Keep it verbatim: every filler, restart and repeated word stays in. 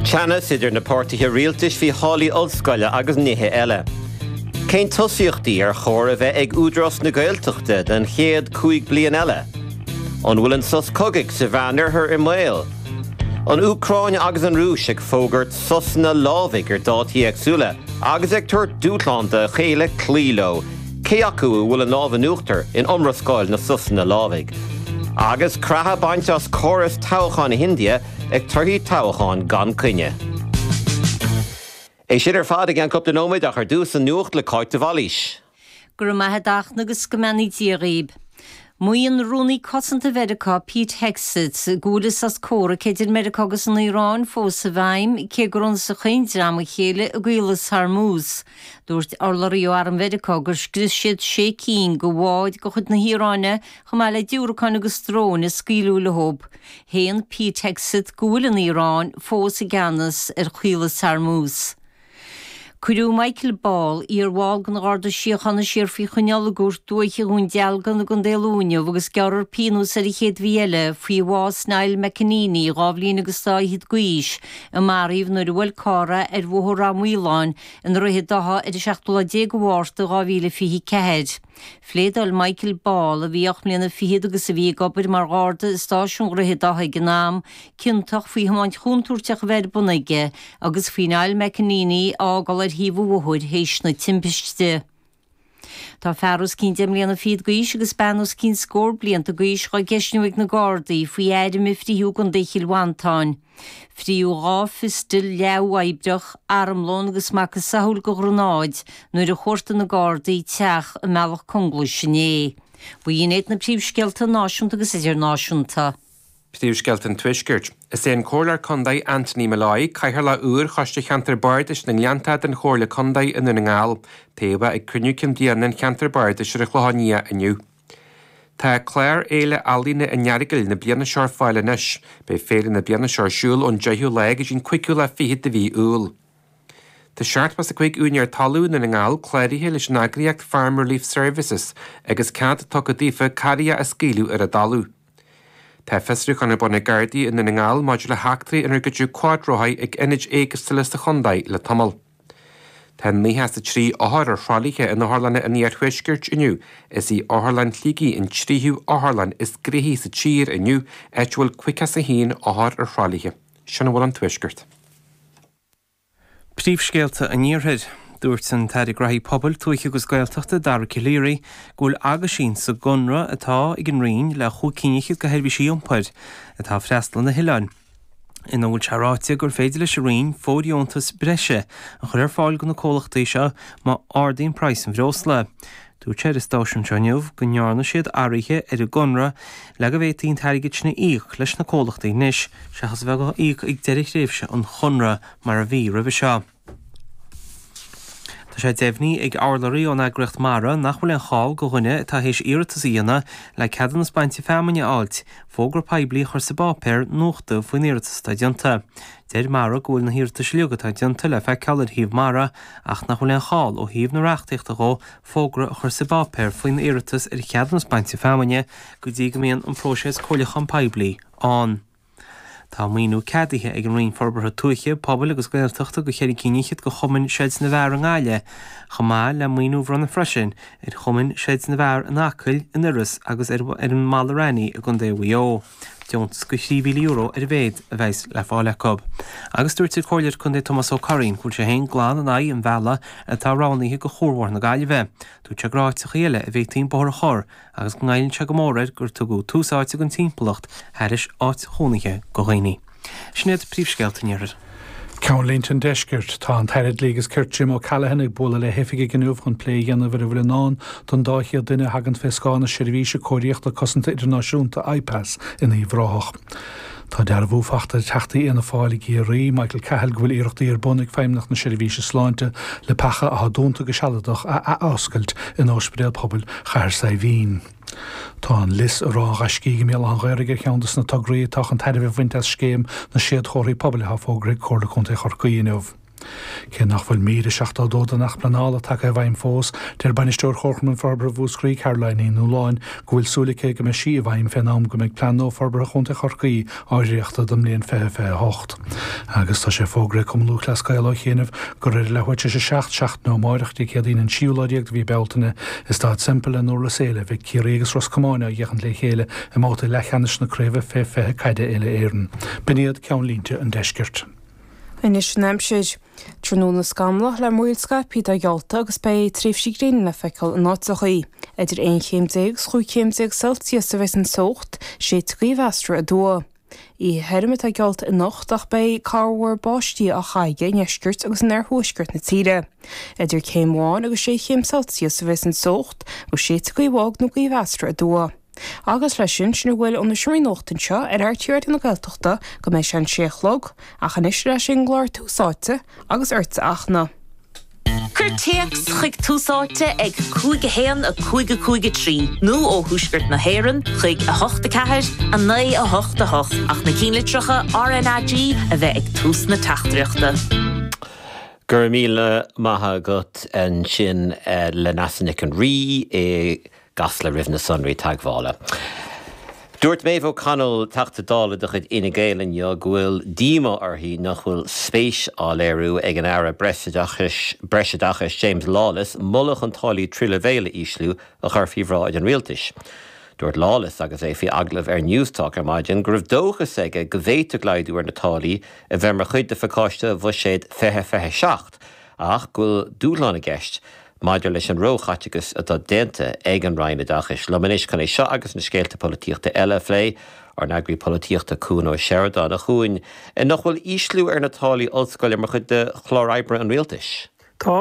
Teannas idir na páirtithe rialtais faoi tháillí ollscoile agus nithe eile. Cén tosaíochtaí ar chóir a bheith ag Údarás na Gaeltachta don chéad cúig bliain eile? An bhfuil an sos cogaidh sa Mheánoirthear i mbaol? An Úcráin agus an Rúis ag fógairt sosanna lámhaigh ar dátaí éagsúla agus ag tabhairt dúshlán dá chéile cloí leo, cé acu a bhfuil an lámh in uachtar in iomrascáil na sosanna lámhaigh. Agus creathadh bainte as córas toghcháin na hIndia ag torthaí toghcháin gan coinne. É sin ar fad i gceann cúpla nóiméad ach ar dtús an nuacht le Cáit de Bhailís. Go raibh maith agat a Fhachtna agus go mbeannaí Dia dhaoibh. Maíonn Rúnaí Cosanta Mheiriceá Pete Hegseth go bhfuil an sos comhraic idir Meiriceá agus an Iaráin fós i bhfeidhm cé gur ionsaigh chaon dream a chéile i gCaolas Hormuz. Dúirt urlabhraí ó Arm Mheiriceá gur scrios siad sé cinn de bháid de chuid na hIaráine chomh maith le diúracáin agus dróin a scaoileadh leo. Shéan Pete Hegseth go bhfuil an Iaráin fós i gceannas ar Chaolas Hormuz. Cuireadh Michael Ball iarbhall den Gharda Síochána siar faoi choinneáil i gCúirt Dúiche Dhún Dealgan i gContae Lú inniu agus gearrfar pionós air an chéad mhí eile faoi bhás Niall McEneaney dhá bhliain agus dá fhichead d'aois a maraíodh nuair a bhuail carr é ar Bhóthar Ráth Maoláin i nDroichead Átha ar an seachtú lá déag de Mhárta dhá mhíle fiche ceathair. Phléadáil Michael Ball a bhí ocht mbliana fichead agus a bhí ag obair mar gharda i stáisiún Dhroichead Átha ag an am, ciontach faoi thiomáint chontúirteach a bheith ar bun aige agus faoi Niall McEneaney a fhágáil ar thaobh an bhóthair théis na timpiste. Tá fear os cionn deich mbliana fichead d'aois agus bean os cionn scór blianta d'aois á gceistniú ag na Gardaí faoi airm a frítheadh i gContae Chill Mhantáin. Frítheadh dhá phiostal leath-uathoibríoch, armlón agus macasamhail de ghranáid nuair a chuartaigh na Gardaí teach i mBealach Conglais inné. B'in iad na príomhscéalta náisiúnta agus idirnáisiúnta. Príomhscéalta an Tuaiscirt. Is é an Comhairleoir Contae Anthony Molloy, Cathaoirleach úr Choiste Cheantar Bardais na nGleannta den Chomhairle Contae i nDún na nGall, tofa ag cruinniú cinn bliana an Cheantar Bardais ar an Chlochán Liath inniu. Tá clár Fhéile Ealaíne an Earagail na bliana seo ar fáil anois, beidh féile na bliana seo ar siúl ón deichiú lá go dtí an cúigiú lá fichead de mhí Iúil. Tá seachtó is a cúig úinéir talún i nDún na nGall cláraithe leis an eagraíocht Farm Relief Services agus cead tugtha daofa carraithe a scaoileadh ar a dtalamh. Tá fiosrúchán ar bun ag Gardaí i nDún na nGall maidir le heachtraí inar goideadh cuadrothair ag ionaid éagsúla sa chontae le tamall. Tá nócha is a trí othar ar thralaithe in otharlanna an iarthuaiscirt inniu. Is í Otharlann Shligigh an tríú otharlann is gnoithí sa tír inniu, áit a bhfuil caoga is a haon othar ar thralaithe. Sin a bhfuil ón tuaisceart. Príomhscéalta an Iarthair. Dúirt an tAire Gnóthaí Pobail, Tuaithe agus Gaeltachta Dara Calleary go bhfuil aguisín sa gconradh atá ag an Roinn le chúig cinn fhichead de sheirbhísí iompair atá freastal ar na hoileáin ina bhfuil sé ráite gur féidir leis an Roinn fóirdheontas breise a chur ar fáil do na comhlachtaí seo má ardaíonn praghas an bhreosla. Dúirt sé ar an stáisiún seo inniu go ndearna siad athruithe ar an gconradh le go bhféadfaí an t-airgead sin a íoc leis na comhlachtaí anois seachas a bheith á íoc ag deireadh thréimhse an chonradh mar a bhí roimhe seo. Tá sé deimhnithe ag urlabhraí ón eagraíocht Mara nach bhfuil aon chall do dhuine atá théis iarratas a dhéanamh le ceadúnas bainte feamainne a fháilt, fógra poiblí a chur sa bpáipéar nuachta faoin iarratas atá déanta. Deir Mara go bhfuil na hiarratais uilig atá déanta le feiceáil ar shuíomh Mara ach nach bhfuil aon chall ó thaobh na reachtaíochta dhó fógra a chur sa bpáipéar faoin iarratas ar cheadúnas bainte feamainne go dtí go mbíonn an próiseas comhairliúchán poiblí ann. Tá maoiniú ceadaithe ag an Roinn Forbartha Tuaithe, Pobail agus Gaeltachta do cheithre cinn fhichead de Chumann Seid na bhFear i nGaillimh, chomh maith le maoiniú a bhronnadh freisin ar Chumann Seid na bhFear in Acaill, in Iorras agus ar ar an mBalla Raithní i gContae Mhaigh Eo. Deontas de thrí mhíle euro ar a mhéad a bheas le fáil acu. Agus dúirt an Comhairleoir Contae Tomás Ó Curraoin go bhfuil sé féin glan in aghaidh an bhealaigh atá roghnaithe do chuarbhóthar na Gaillimhe. Dúirt sé gur áiteachaí eile a bhféadfaí an bóthar a chur agus go ngoilleann sé go mór air gur tugadh tús áite don timpeallacht thairis áit chónaithe do dhaoine. Sin iad príomhscéalta an Iarthair. Ceannlínte an Deiscirt, Tá an tAire Dlí agus Cirt Jim O'Callaghan ag bualadh le hoifigigh inniu chun plé a dhéanamh ar a bhfuil i ndán don dá chéad duine a thagann fé scáth na Seirbhíse Cóiríochta Cosanta Idirnáisiúnta IPAS in Uíbh Ráthach. Tá dearbhú faighte ag Teachta Fhianna Fáil i gCiarraí, Michael Cahill, go bhfuil iarrachtaí ar bun ag Feidhmeannacht na Seirbhíse Sláinte le peacha atá dúnta go sealadach a athoscailt in Ospidéal Pobail Chathair Saidhbhín. Tá an Lios i Ráth an Ghaiscígh i mBéal Átha an Ghaorthaidh ar cheann de na tograí atá chun tairbhe a bhaint as scéim na séadchomharthaí pobail atá fógartha ag Comhairle Contae Chorcaí inniu. Cé nach bhfuil mír a seachtó a dó den Acht Pleanála tagtha i bhfeidhm fós, deir Bainisteoir Chomharchumann Forbartha Mhúscraí, Caroline Ní Nualláin, go bhfuil súil aici go mbeidh sí i bhfeidhm fén am go mbeidh Plean nua Forbartha Chontae Chorcaí á dhréachtadh don mbliain fiche fiche a hocht. Agus tá sé fógraithe ag Cumann Lúthchleas Gael ó chianaibh gur ar a leathuair tar éis a seacht seachtaine ó amárach, Dé Céadaoin an séú lá déag de mhí Bealtaine, i Staid Semple i nDurlas Éile, a bheidh Ciarraí agus Ros Comáin á bhféachaint le chéile i mbabhta leathcheannais na Craoibhe fé fiche Caide Uile-Éireann. B'in iad ceannlínte an deiscirt. Anois an aimsir. Tráthnóna scamallach le múraíl scaipthe atá geallta agus beidh tréimhsí gréine le feiceáil in áiteachaí. Idir aon chéim déag agus chúig chéim déag Celsius a bheas an teocht, séidfidh gaoth mheasartha aduaidh. Oíche thirim atá geallta anocht ach beidh corrmhúr báistí á chaitheamh i ndeisceart agus in oirthuaisceart na tíre. Idir céim amháin agus sé chéim Celsius a bheas an teocht agus séidfidh gaoth bhog nó gaoth mheasartha aduaidh. Agus leis sin, sin a bhfuil ó na seomraí nuachta anseo ar RTÉ Raidió na Gaeltachta go mbeidh sé an sé a chlog, ach anois ar ais ag an gclár Tús Áite agus ortsa a Fhachtna. Cuir téacs chuig Tús Áite ag cúig a haon a cúig a cúig a trí nó ó thuaisceart na hÉireann chuig a hocht a ceathair a naoi a hocht a hocht ach na ceannlitreacha RnaG a bheith ag tús na teachtaireachta. Go raibh míle maith agat ansin le Neasa Nic an Rí i gCasla roimh na sonraí teagmhála. Dúirt Maeve O'Connell, Teachta Dála de chuid Fhine Gael inniu go bhfuil díomá uirthi nach bhfuil spéis á léiriú ag an Aire Breisoideachais Breisoideachais James Lawless moladh chun táillí tríú leibhéal a ísliú a chur faoi bhráid an rialtais. Dúirt Lawless agus é faoi agallamh ar Newstalk ar maidin go raibh dóchas aige go bhféadfadh laghdú ar na táillí a bheith mar chuid de phacáiste bhuiséad fiche fiche seacht ach go bhfuil dúshlán i gceist maidir leis an róchaiteachas atá déanta ag an Roinn Oideachais. Liom anois chun é seo agus na scéalta polaitíochta eile a phlé, ár n-eagraí polaitíochta Cuan Ó Seireadáin. A Chuain, nach bhfuil ísliú ar na táillí ollscoile mar chuid de chlár oibre an rialtais. Tá.